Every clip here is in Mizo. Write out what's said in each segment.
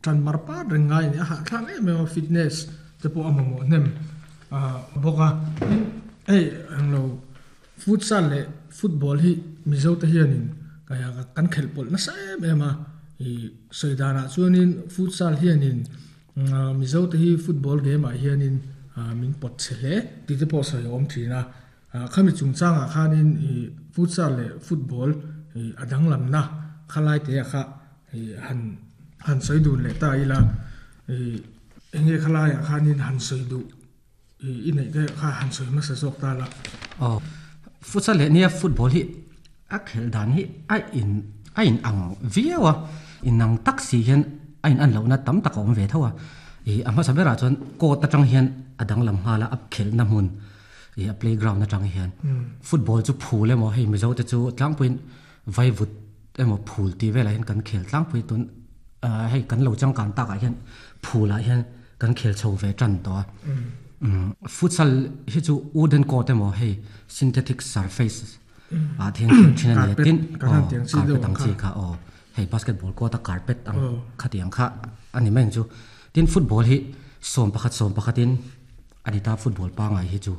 Ṭan mar pat reng ngai a ni. A hahthlak em em a, fitness te pawh a mamawh hnem bawk a. Tin, hei englo futsal leh football hi Mizo te hianin kan khelh pawlh nasa em em a. Ih sawi danah chuanin futsal hianin Mizo te hi football game ah hianin min pawt chhe hle tih te pawh sawi a awm thin a. Khami chungchangah khanin ih futsal leh football ih a danglamna khalai te ah kha ih han han sawi dun leh ta ila ih eng nge khalaiah khanin han sawi duh ih i neih te kha han sawi hmasa zawk ta la. Aw futsal leh nia football hi a khelh dan hi a in a in ang viau a inang tak si hian a in an lohna tam tak a awm ve tho a ih a hmasa berah chuan court atang hian a danglam nghal a a khelhna hmun ih a playground atang hian football chu phul emaw hei Mizo te chu tlangpuiin vaivut emaw phul tih velah hian kan khel tlangpui tun ah hei kan lo changkan takah hian phulah hian kan khel chho ve tan tawh a futsal hi chu wooden court emaw hei synthetic surface ah te hian khel thin a ni a tin carpet ang chi kha aw hei basketball court a carpet ang khatiang kha a ni mai ang chu tin football hi sawm pakhat sawm pakhatin a ni ta football pangngai hi chu.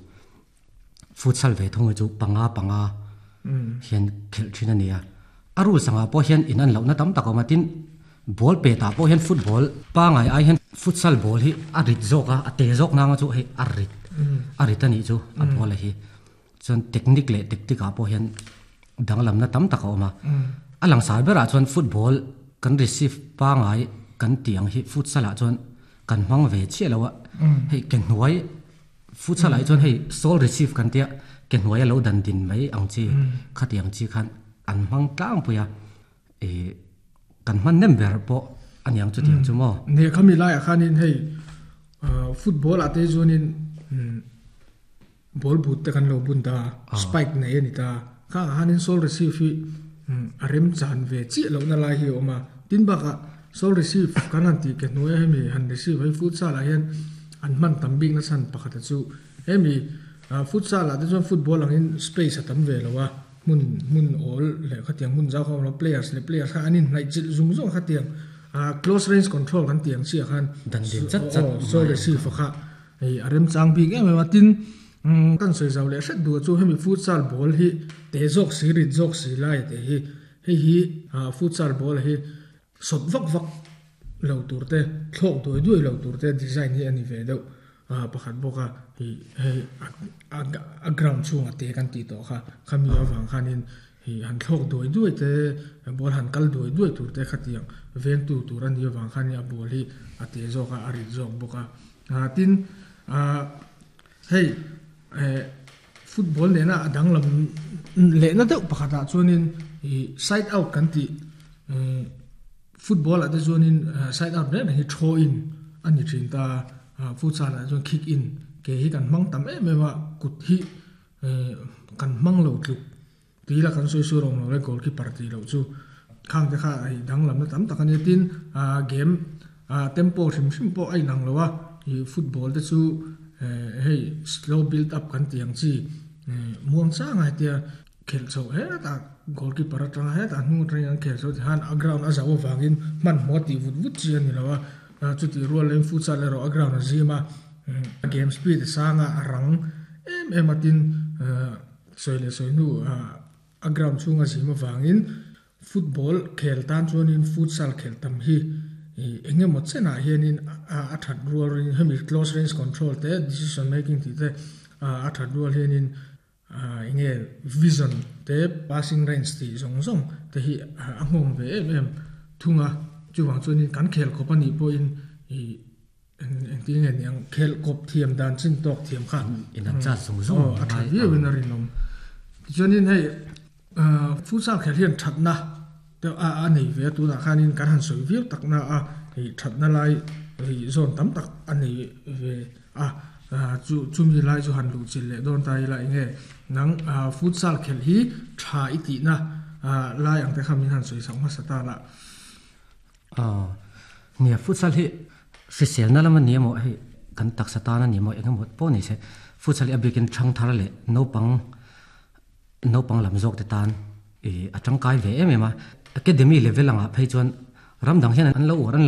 Futsal ve thung hi chu panga panga hian khelh thin a ni a. A rules angah pawh hian in an lohna tam tak a awm a, tin ball petah pawh hian football pangai ai hian futsal ball hi a rit zawk a, a te zawk nanga chu hei a rit a rit a nih chu a ball a hi. Chuan technique leh tactic ah pawh hian danglamna tam tak a awm a. A langsar berah chuan football kan receive pangai kan tih ang hi futsal ah chuan kan hmang ve chiah lo a, hei ke hnuai Futsal ah hi chuan hei sole receive kan tia ke hnuaia lo dan din mai ang chi khatiang chi khan an hmang tlangpui a ih kan hman nem ber pawh a niang chutiang chu maw. Ni khami laiah khanin hei football ah te chuanin ball boot te kan lo bun ta a spike nei a ni ta kha ah khanin sole receive hi a rem chan ve chiah lohna lai hi a awm a tin bakah sole receive kan han tih ke hnuaia hemi han receive hei futsal ah hian An hman tam bikna chhan pakhata chu hemi futsal ah te chuan football angin space a tam ve lo a, hmun hmun awl leh khatiang hmun zau kha a awm lo, players leh players kha an inhnaih chilh zung zung a khatiang close range control kan tih ang chiah khan Dan din chat chat sawi leh si fa kha hei a remchang bik em em a, tin kan sawi zau leh hret duh chu hemi futsal ball hi te zawk si rit zawk si lai te hi hei hi futsal ball hi Sawt vak vak lo tur te, thlawk duai duai lo tur te design hi a ni ve deuh pakhat bawk a, ih hei a ground chhungah te kan tih tawh kha, khami avang khanin ih han thlawk duai duai te, ball han kal duai duai tur te khatiang vengtu tur a nih avang khanin a ball hi a te zawk a, a rit zawk bawk a. Tin, hei football nena a danglam lehna deuh pakhatah chuanin ih side out kan tih football ah te chuanin side out reng reng hi throw in a ni thin ta a futsal ah chuan kick in ke hi kan hmang tam em em a kut hi kan hmang lo tluk tih ila kan sawi sawi rawng lo le goalkeeper tih loh chu khang te kha hei danglamna tam tak a nia tin ah game ah tempo hrim hrim pawh a inang lo a ih football te chu eh hei slow build up kan tih ang chi eh muang chang a hetia khelh chhoh hetah goalkeeper atanga hetah hnung atangin an khel chho ti khan a ground a zauh avangin hmanhmawh tih vut vut chi a ni lo a chutih rual leh futsal erawh a ground a zim a game speed a sang a a rang em em a tin eh Sawi leh sawi hnu a ground chhunga zim avangin football khel tan chuanin futsal khel tam hi eng emaw chenah hianin a that rual ring hemi close range control te decision making tih te a that rual hianin eng nge vision te passing range tih zawng zawng te hi a nghawng ve em em thung a chuvang chuanin kan khel khawp anih pawhin ih Engtin nge niang khelh kawp thiam dan chin tawk thiam kha in an chat zung zung a tha viau in a rinawm. Tichuanin hei futsal khelh hian thatna te a nei ve a tunah khanin kan han sawi viau tak na a hei thatna lai hei zawn tam tak a nei ve a chu chumi lai chu han luh chilh leh dawn ta ila enge nang futsal khelh hi tha i tihna lai ang te kha min han sawi sak hmasa ta lah. Nia futsal hi hriselna lam a ni emaw hei kan taksa tan a ni emaw eng emaw pawh ni se futsal hi a bikin thang thar leh naupang naupang lam zawk te tan ih a tangkai ve em em a academy level angah phei chuan ram dang hian an lo uar an lo.